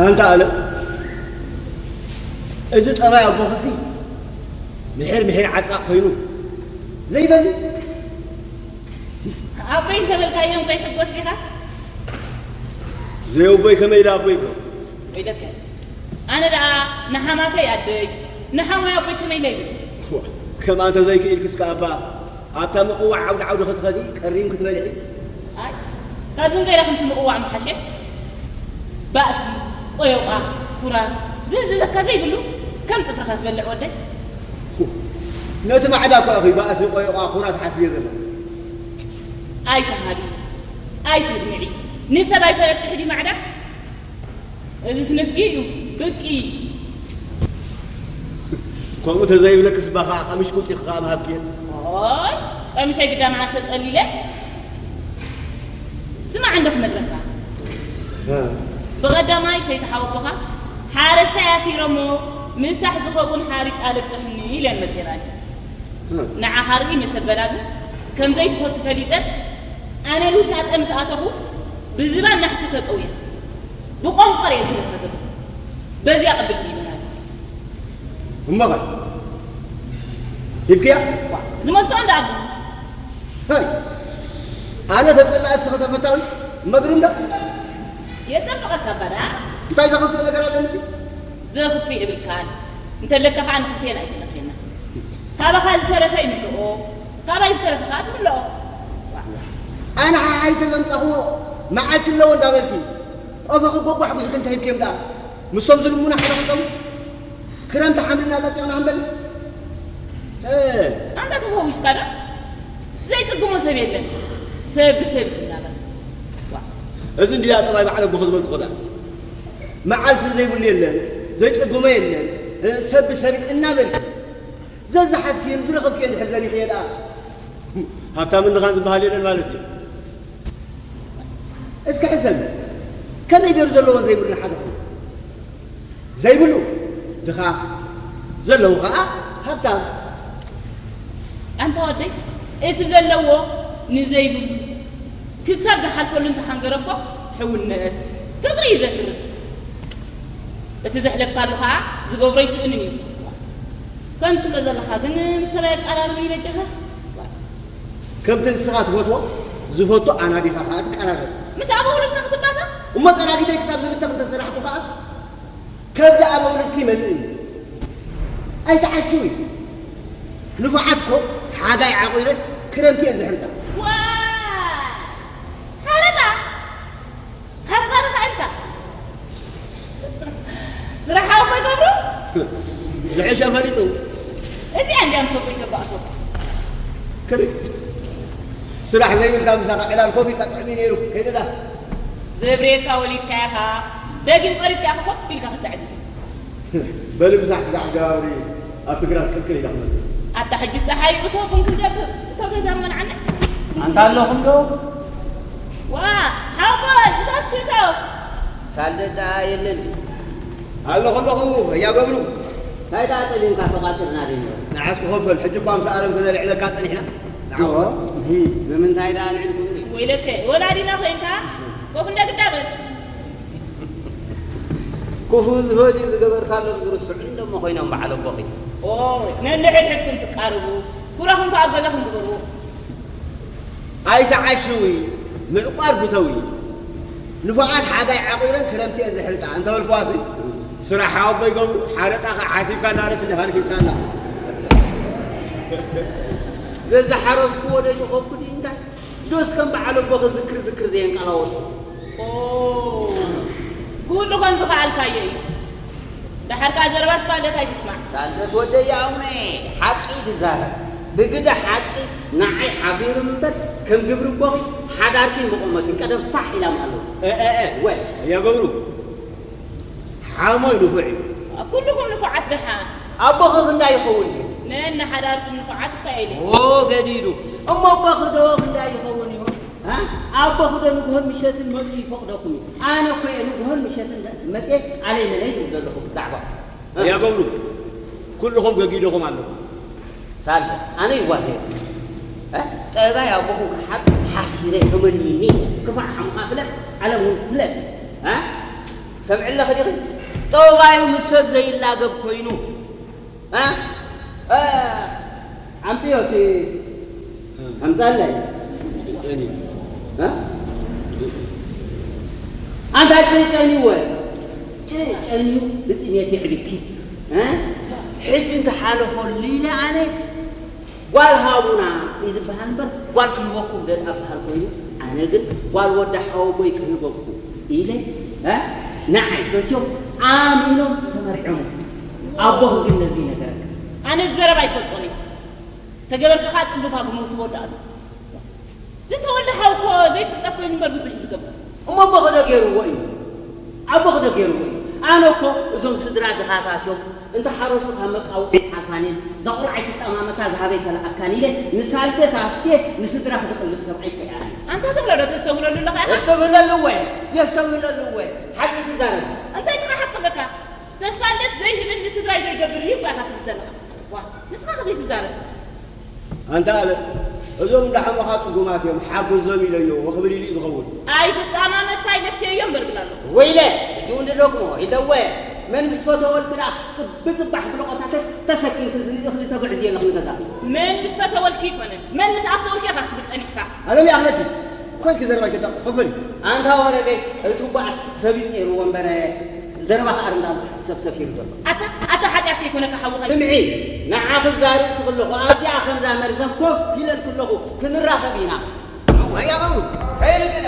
ኣንታ ኣለ፣ እዚ ጠባይ ኣቦኽሲ ምሒር ምሒር ዓጻቕ ኮይኑ ዘይበል። ኣቦይ እንተበልካዮም ከይሕጎስ ኢኻ? ዘየቦይ ከመይ ኢለ ኣቦይ ኢሎ? ወይለከ፣ ኣነ ደኣ ንሓማተይ ኣደይ፣ ንሓሞይ ኣቦይ ከመይ ኢለ ይብል? ከምኣ እንተዘይክኢልክስ ከኣ እባ ኣብታ ምቕዋዕ ዓውዲ ዓውዲ ክትኸዲ ቀሪም ክትበልዒ። ኣይ፣ ካብዚ ንገይረ ከምዚ ምቕዋዕ ምሓሸ። ባእሲ፣ ቆዮቓ፣ ኩራ፣ ዝዝዘካ ዘይብሉ ከም ጽፍርኻ ትበልዕ ወደይ። ነቲ ማዕዳ እኮ ኢኺ ባእሲ፣ ቆዮቓ፣ ኩራ ትሓስብዮ ዘለኺ። ኣይትሃቢ፣ ኣይተድምዒ፣ ንሰብ ኣይተረብሒ ድዩ ማዕዳ? እዚስ ንፍጊ እዩ፣ ብቂ። ከምኡ ተዘይብለክስ እባ ኸዓ ቀሚሽ ቁልጢ ኸዓ ምሃብክየ። ኦይ፣ ቀሚሸይ ግዳ መዓስ ተጸሊለ? ስማዕ እንዶ ክነግረካ። እ። ብቐዳማይ ሰይቲ ሓወቦኻ ሓረስታይ ኣፊረሞ ምሳሕ ዝኸውን ሓሪጭ ኣለቅሕኒ ኢለን መጼናኒ። እ። ንዓኻ ርኢ መሰበላ ግን ከም ዘይትፈቱ ፈሊጠን ኣነ ንውሻጠ ምስ ኣተኹ ብዝባን ናሕሲ ተጠውየ። ብቆንቆር እየ ዝብለካ ዘለኹ። በዚኣ ቅብል ይበላል። እሞ ኸ ሂብክያ? ዋ፣ ዝመልስኦ እንዳ ኣቡ። ሀይ፣ ኣነ ተጸላእ እስኸ ተፈታዊ መግርም ዶ? የጸብቐካ እባ ደኣ። እንታይ ዘኽፍእ ነገር ኣለኒ? ዘኽፍእ የብልካን። እንተለካ ኸኣ ንኽልቴና እዩ ዝለኽየና። ካባኻ ዝተረፈ ይምልኦ፣ ካባይ ዝተረፈ ኸኣ ትምልኦ። ኣነ ሓሓይተ ዘምጻኽዎ መዓልቲ ኣለዎ እንዳበልኪ፣ ቆፎኺ ጎጓሕ ጉሒኺ እንታይ ሂብክዮም ደኣ? ምስቶም ዝልሙና ሓደ ክልተሙ ክረምቲ ሓምሊ እናጠጢቕና ክንበልዕ? እ። ኣንታ ተፈዊስካ ዶ? ዘይጽግሞ ሰብ የለን። ሰብ ብሰብ ዝናበር። ዋ። እዚ እንድያ ጠባይ በዓል ኣቦኺ ዝበልኩ ኸዳ። መዓልቲ ዘይብሉ የለን፣ ዘይጽግሞ የለን። እ፣ ሰብ ብሰብ እናበልኪ። ዘዝሓዝክዮን ዝረኸብክዮን ድሕር ዘሪኽዮ ደኣ። ሃብታምን ድኻን ዝበሃል የለን ማለት እዩ። እስኪ ሕሰብ፣ ከመይ ገይሩ ዘለዎን ዘይብሉን ሓደ ኮይኑ? ዘይብሉ ድኻ፣ ዘለዎ ኸዓ ሃብታም። ኣንታ ወደይ፣ እቲ ዘለዎ ንዘይብሉ ክሳብ ዝሓልፈሉ እንተሓንገረ እኮ ሕውነት፣ ፍቕሪ እዩ ዘትርፍ። እቲ ዘሕለፍካሉ ኸዓ ዝገብሮ ይስእንን እዩ። ከምዚ ትብሎ ዘለኻ ግን ምስ ሰብኣይ ኣቀራርብኒ በጃኻ። ከምቲ ንስኻ ትፈትዎ ዝፈቱ ኣናዲኻ ኸዓ ትቀራረብ። ምስ ኣበ ውሉድካ ክትባታ? እሞ ጠራጊተይ ክሳብ ዝብተኽ እንተሰራሕኩ ኸዓ ከብዲ ኣበ ውሉድኪ ይመልእኒ። ኣይትዓሽዊ። ንፉዓት እኮ ሓጋይ ዓቑረን ክረምቲ እየን ዝሕርዳ። ዋይ! ሓረጣ! ሓረጣ ርኻ ኢልካ። ስራሕ ኣቦይ ገብሩ? ዝሕሸ ፈሊጡ። እዚኣ እንድያ ምስ ኣቦይ ተባእሶ። ክሪ-፣ ስራሕ ዘይብልካ ምሳኻ ዕላል ኮፍ ኢልካ ጥዕሚ ነይሩ። ከይደዳ። ዘብርየካ ወሊድካ ኢኻ። ደጊም ቀሪብካ ኢኻ ኮፍ ኢልካ ክትዕቢ። በሊ ምሳሕ ስራሕ ገባብሪ ኣብ ትግራት ቅልቅል ኢላ ክመጽእ። ኣታ ሕጂ ጸሓይ እቶ ቡን ክንገብር፣ እቶ ገዛ መንዓና። ኣንታ ኣለኹም ዶ? ዋ፣ ሓወቦይ፣ እታ እስክሪቶ። ሳልደት ደኣ የለን። ኣለኹ ኣለኹ፣ እያ ገብሩ። እንታይ ደኣ ጸሊምካ ተቋጺርና ደይንበል? ንዓስ ክኸፈል፣ ሕጂ እኳ ምስ ኣለም ክነልዕለካ ጸኒሕና። ንዓኹም። እሂ፣ ብምንታይ ደኣ ኣልዒልኩምኒ? ወይለከ፣ ወላዲና ኮይንካ፣ ኮፍ እንደ ግዳ በል። ክፉእ ዝፈድዩ ዝገበርካሎም ዝርስዑ እንደሞ ኮይኖም በዓል ኣቦኺ። ኦ፣ ነንሕድሕድኩም ትቃርቡ፣ ኩራኹም ከኣ ኣብ ገዛኹም ግበርዎ። ኣይትዓሽዊ፣ ምዕቋር ፍተዊ። ንፉዓት ሓጋይ ዓቑረን ክረምቲ እየን ዝሕልጣ እንተበልኩዋሲ፣ ስራሕ ኣቦይ ገብሩ፣ ሓረጣ ከኣ ሓሲብካ እንዳለት እንዲኻ ረኪብካ ኣላ። ዘዝሓረስኩዎ ዶ ኣይተኾኩ ድዩ እንታይ? ዶስ ከም በዓል ኣቦኺ ዝክር ዝክር ዘየንቀላወጦ? ኦ፣ ኩሉ ከም ዝኸኣልካዮ እዩ። ደሓር ከኣ ዘረባ ሳልደት ኣይትስማዕ። ሳልደት ወደይ ኣሙነ፣ ሓቂ ድዛረብ። ብግደ ሓቂ ንዓይ ሓፊሩ እምበር፣ ከም ግብሪ ኣቦኺ ሓዳርኪ መቖመትን ቀደም ፋሕ ኢላ ምሃለወት። እ፣ እ፣ እ። ወይ። ኣያ ገብሩ፣ ሓሞይ ንፉዕ እዩ። ኩልኹም ንፉዓት ደሓን። ኣቦኺ ክንዳይ ይኸውን ድዩ? ነንሓዳርኩም ንፉዓት እኳ ኢለ። ኦ፣ ገዲዱ። እሞ ኣቦኺ ዶ ክንዳይ ይኸውን ይሆን? እ? ኣቦኺ ዶ ንግሆን ምሸትን መጺኡ ይፈቕደኩም እዩ? ኣነ እኮ እየ ንግሆን ምሸትን መጺኤ ኣለይ መለይ ዝብል ዘለኹ ብዛዕባ። እ? ኣያ ገብሩ፣ ኩልኹም ገጊድኹም ኣለኹም። ሳልደ፣ ኣነ ይዋዘ። እ? ጠባይ ኣቦኹም ክሓብ ሓሲረ ተመኒኒ። ክፋእ ሓሙኻ ፍለጥ፣ ዓለም እውን ፍለጥ። እ? ሰምዕለኺ ዲኺ? ጠባዩ ምስ ሰብ ዘይላገብ ኮይኑ። እ? እ፣ ኣምፅዮ እቲ፣ ኣምፃለይ። እ? ኣንታ ጭጨንዩ ወ-፣ ጭጨንዩ ብጥሜት የዕብኪ። እ? ሕጂ እንተሓለፈሉ ኢለ ኣነ ጓል ሃቡና እዩ ዝበሃል እምበር፣ ጓል ክህበኩም ደልኣ በሃል ኮይኑ፣ ኣነ ግን ጓል ወዲ ሓወቦይ ክህበኩም ኢለ፣ እ፣ ንዓይ ፈትዮም ኣሚኖም ተመርዖም። ኣቦኺ ግን ነዚ ይነገረካ። ኣነ ዘረባ ኣይፈልጦን እየ። ተገበርካ ከዓ ጽምብፋ ግመ ውስቦ ወዲ ኣሎ። ዝተወልደ ሓው እኮ ዘይጽብጸብ ኮይኑ እምበር ብዙሕ እዩ ዝገብር። እሞ ኣቦኺ ዶ ገይርዎ እዩ? ኣቦኺ ዶ ገይርዎ እዩ? ኣነ እኮ እዞም ስድራ ድኻታት እዮም። እንተ ሓረሱ ካብ መቃወሚ ሓልፋን እየን። እዛ ቆልዓ ኣይትጠማመታ ዝሃበይ ከለኣካን ኢለ ንሳልደ ታፍቴ ንስድራ ክድቕልብ ሰብኣይ እኮ እየ ኣነ። ኣንታ ትብሎ ዶ ተስተብህለሉ ኣለኻ ኢኻ? የስተብህለሉ እወ፣ የስተብህለሉ እወ። ሓቂ ትዛረብ። እንታይ ጥራሕ ሓቂ ኣለካ? ተስፋ ልደት ዘይህብን ንስድራይ ዘይገብር እዩ እኮ ኢኻ ትብል ዘለኻ። ዋ፣ ንስኻ ከ ዘይትዛረብ? ኣንታ ኣለ፣ እዞም እንዳሓሙኻ ጽጉማት እዮም፣ ሓግዞም ኢለዮ፣ ወክብል ኢሉ እዩ ዝኸውን። ኣይትጠማመታ፣ ይነፍየዮ እምበር ብላ ኣሎ። ወይለ፣ ሕጂ እውን ድደግሞ፣ ኢለወ፣ መን ምስ ፈተወልኪ ደኣ ጽቢ ጽባሕ ብለቆታተት ተሰኪምኪ እዚ እኽሊ ተጉዕዝዮ ኣለኺ ንገዛኺ። መን ምስ ፈተወልኪ ኣይኮነን፣ መን ምስ ኣፍተወልኪ ኢኻ ክትብል ጸኒሕካ። ኣለም ይኣኽለኪ፣ ብኸልኪ ዘረባ ኣይትጠቕ-፣ ክፍል። ኣንታ ወረገይ፣ እቲ ባእስ ሰብ ይጸይርዎ እምበር፣ ዘረባ ከኣ እንዳልካ ሰብ ሰፊሩ ዘሎ። ኣታ፣ ኣታ ሓጢኣት ከይኮነካ ሓውኻ። ስምዒ፣ ንዓኺ ክዛረብ ስኽለኹ ኣብዚኣ ከምዛ መርዘም ኮፍ ኢለልኪ ኣለኹ፣ ክንራኸብ ኢና። ኣያ መሙት። ከይንግዳ።